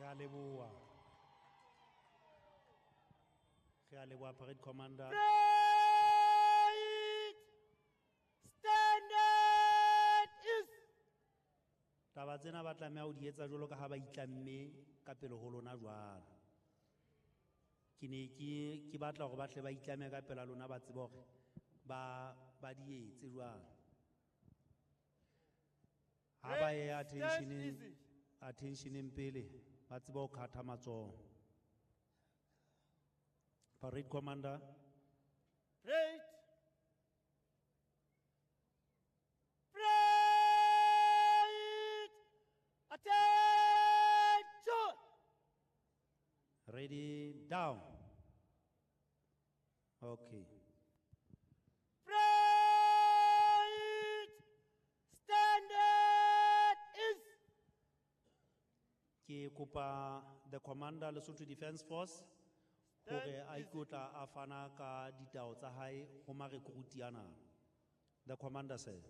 Re a leboha. Re a leboha, parade commander. Parade! Standard is. Taba tsena ba tlameha ho di etsa jwalo ka ha ba itlamme ka pele ho lona jwalo. Ke ne ke batla hore ba tle ba itlame ka pela lona, ba tsebe hore ba di etse jwalo. Ha ba ye attentioneng, attentioneng pele ba tsebe ho khatha matsoho. Parade commander. Parade. Parade! Attention! Ready, down. Okay. Parade! Standard is. Ke kopa the commander Lesotho Defence Force hore a ikotla a fana ka ditao tsa hae ho marekruti ana. The commander, sir.